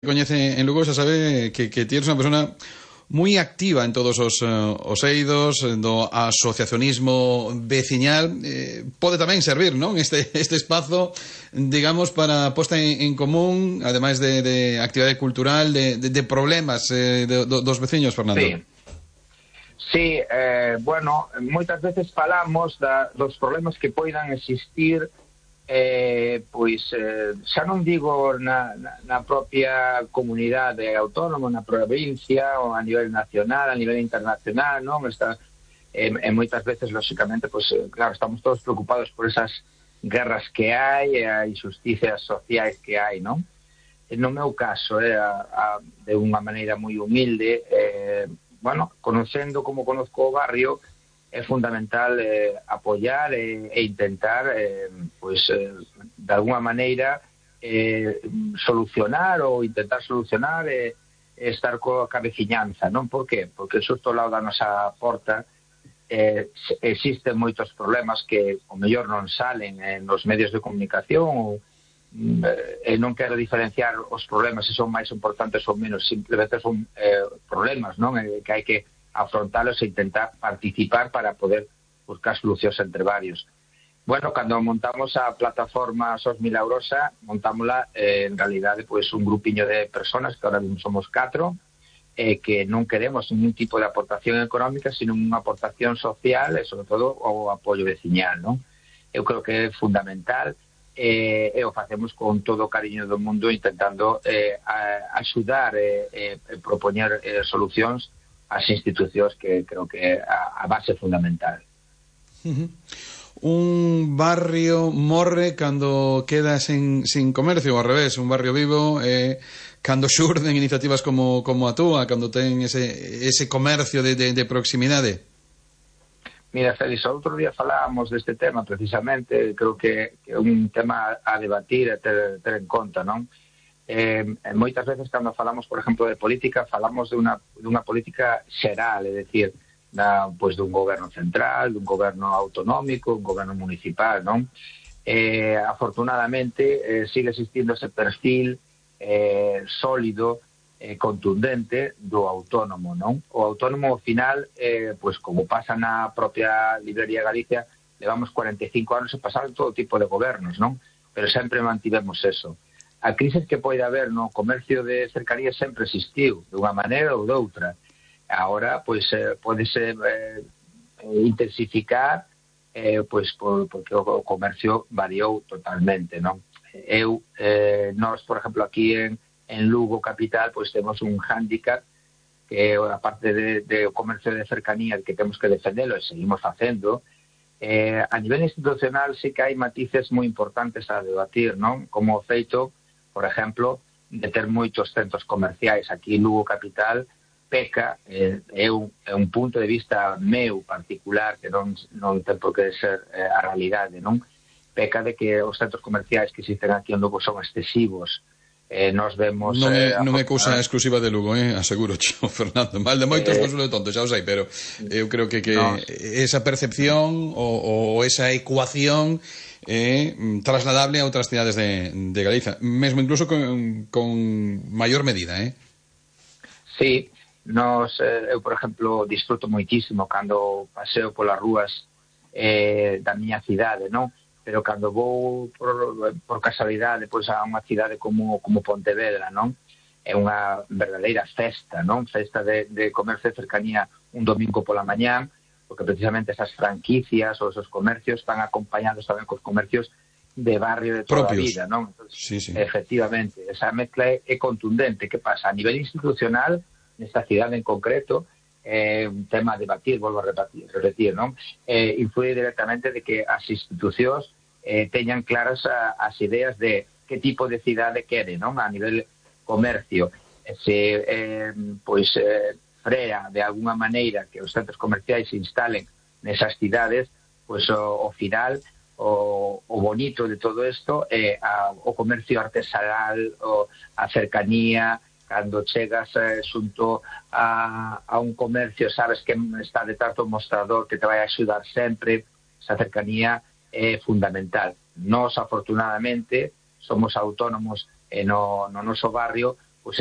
coñece en Lugo xa sabe que ti eres unha persona moi activa en todos os eidos do asociacionismo veciñal. Pode tamén servir, non? Este espazo, digamos, para a posta en común, ademais de actividade cultural, de problemas dos veciños, Fernando. Sí. Sí, bueno, moitas veces falamos dos problemas que poidan existir, xa non digo na propia comunidade autónoma, na provincia, ou a nivel nacional, a nivel internacional, non? Moitas veces, lóxicamente, claro, estamos todos preocupados por esas guerras que hai, e a injusticias sociais que hai, non? No meu caso, de unha maneira moi humilde, bueno, conocendo como conozco o barrio, é fundamental apoiar e intentar de alguma maneira solucionar ou intentar solucionar estar coa veciñanza, non? Por qué? Porque xusto ao lado da nosa porta existen moitos problemas que o mellor non salen nos medios de comunicación, e non quero diferenciar os problemas se son máis importantes ou menos, simplemente son problemas, non? Que hai que afrontalos e intentar participar para poder buscar solucións entre varios. Bueno, cando montamos a plataforma SOS Milagrosa, montámola en realidade un grupiño de personas, que ahora mismo somos 4, que non queremos ningún tipo de aportación económica, sino unha aportación social e, sobre todo, o apoio veciñal, non? Eu creo que é fundamental, e o facemos con todo o cariño do mundo, intentando axudar e propoñer solucións as institucións, que creo que é a base fundamental. Un barrio morre cando queda sin comercio, ao revés, un barrio vivo cando xurden iniciativas como a túa, cando ten ese comercio de proximidade. Mira, Félix, outro día falábamos deste tema precisamente, creo que é un tema a debatir e ter en conta, non? Moitas veces cando falamos, por exemplo, de política, falamos dunha política xeral, é dicir, dun goberno central, dun goberno autonómico, un goberno municipal, non? Afortunadamente sigue existindo ese perfil sólido, contundente do autónomo, non? O autónomo, ao final, como pasa na propia Librería Galicia, levamos 45 anos e pasaron todo tipo de gobernos, non? Pero sempre mantivemos eso. A crise que pode haber no comercio de cercanías sempre existiu, de unha maneira ou de outra. Agora, podese intensificar, porque o comercio variou totalmente, non? Nós, por exemplo, aquí en Lugo capital, temos un hándicap que, a parte de comercio de cercanías, que temos que defendelo e seguimos facendo. A nivel institucional sí que hai matices moi importantes a debatir, non? Como o feito, por exemplo, de ter moitos centros comerciais. Aquí en Lugo capital peca, é un punto de vista meu particular, que non ten por que ser a realidade, non? Peca de que os centros comerciais que existen aquí en Lugo son excesivos. Nos vemos... Non é cousa exclusiva de Lugo, aseguro, Fernando. Mal de moitos, consuelo de tonto, xa o sei, pero eu creo que esa percepción ou esa ecuación é trasladable a outras cidades de Galiza, mesmo incluso con maior medida, Sí, eu, por exemplo, disfruto moitísimo cando paseo polas rúas da miña cidade, non? Pero cando vou por casualidade a unha cidade como Pontevedra, non? É unha verdadeira festa, non? Festa de comercio de cercanía un domingo pola mañán, porque precisamente esas franquicias ou esos comercios están acompañados tamén cos comercios de barrio de toda a vida, non? Entonces, sí. Efectivamente, esa mezcla é contundente. Que pasa? A nivel institucional, nesta cidade en concreto, un tema a debatir, volvo a repetir, non? Influye directamente de que as institucións teñan claras as ideas de que tipo de cidade quere, non? A nivel comercio, se frea de alguna maneira que os centros comerciais se instalen nesas cidades, o final, o bonito de todo isto é o comercio artesanal, a cercanía. Cando chegas xunto a un comercio, sabes que está detrás do mostrador, que te vai axudar sempre. Esa cercanía é fundamental. Nós, afortunadamente, somos autónomos no noso barrio,